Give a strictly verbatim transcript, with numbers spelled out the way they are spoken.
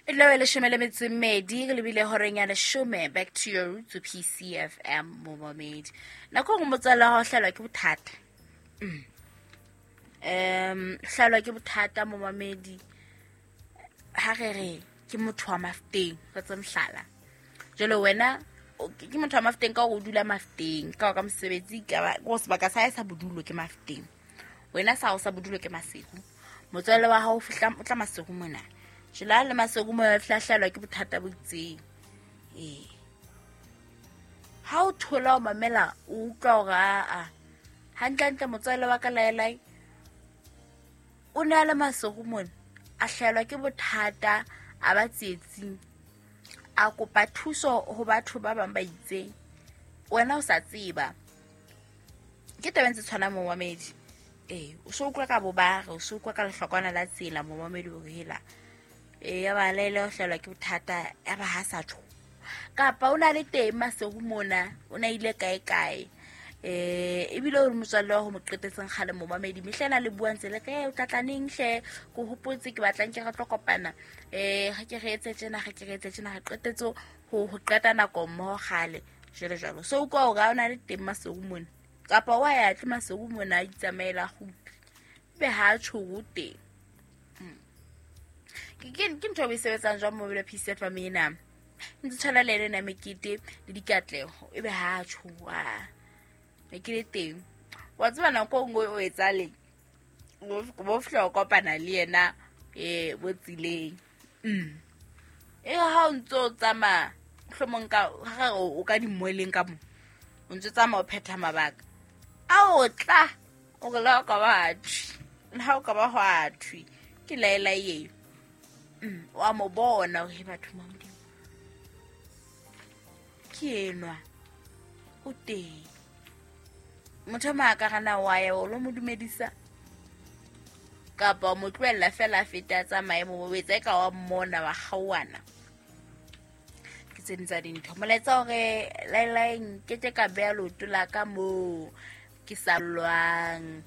E tla be leshome le metso e mmedi re lebile horeng ya leshome. Back to your roots, P C F M momamedi. Nako nngwe motswalle wa hao o hlahelwa ke bothata. Mm. Um, hlahelwa ke bothata momamedi. Ha re re ke motho wa Mafeteng, re tse mohlala. Jwale wena o, ke motho wa Mafeteng ka hore o dula Mafeteng, ka hore ka mosebetsi, ka ba, ko sebaka sa hae sa bodulo ke Mafeteng. Wena sa hao sa bodulo ke Maseru. Motswalle wa hao o fihla, o tla Maseru mona. Jwale ha le Maseru mona, o fihla hlahelwa ke bothata bo itseng. Ee. Ha o thola o mamela, o utlwa hore aa, hantlentle motswalle wa ka laelae, o ne a le Maseru mona, a hlahelwa ke bothata, a ba tsietsing, a kopa thuso ho batho ba bang ba itseng. Wena o sa tseba. Ke taba e ntse tshwanang momamedi. Ee, o so utlwa ka bobare, o so utlwa ka lehlokwana la tsela momamedi hore hela. Ee, ya ba laele o hlahelwa ke bothata, ya ba ha sa tjho. Kapa o na le teng Maseru mona, o na ile kae kae. Eh, ebile o re motswalle wa ho mo qetetseng kgale momamedi, mehla ena le buang tse le re, o tla tla neng hle, ke hopotse ke batlang ke re tlo kopana. Eh, ha ke re etse tjena, ha ke re etse tjena, re qetetse ho, ho qeta nako mmoho kgale, jwalo jwalo. So utlwa hore ha o na le teng Maseru mona, kapa wa ya tle Maseru mona a itsamaela kgutli, ebe ha a tjho o teng. Mm. Ke, ke, ke ntho e o e sebetsang jwang mobile P C F M ena? Ntse tshwana le ena mekete le dikatleho, ebe ha a tjho, ah. Ne ke le teng. Wa tseba nako e nngwe o etsahaleng? Bo, bo fihla o kopana le yena, eh, bo tseleng. Mm. E ha o ntso tsamaya, mohlomong ka, ha re o, o ka dimoleng ka mo. O ntso tsamaya o phetha mabaka. A o tla, o re le ha o ka ba ha thwe. Le ha o ka ba hwa thwe. Ke laela eo. Mm, wa mo bona hore he batho ba Modimo. Ke enwa. O teng. Motho a mang a ka rana wa ya, o lo mo dumedisa. Kapa o mo tlohella feela a fete a tsamaye mo, o etsa eka wa mmona, wa kgaohana. Ke tse ding tsa dintho. Molaetsa hore laelae nkeke ka beha leoto la ka moo ke sa lwang.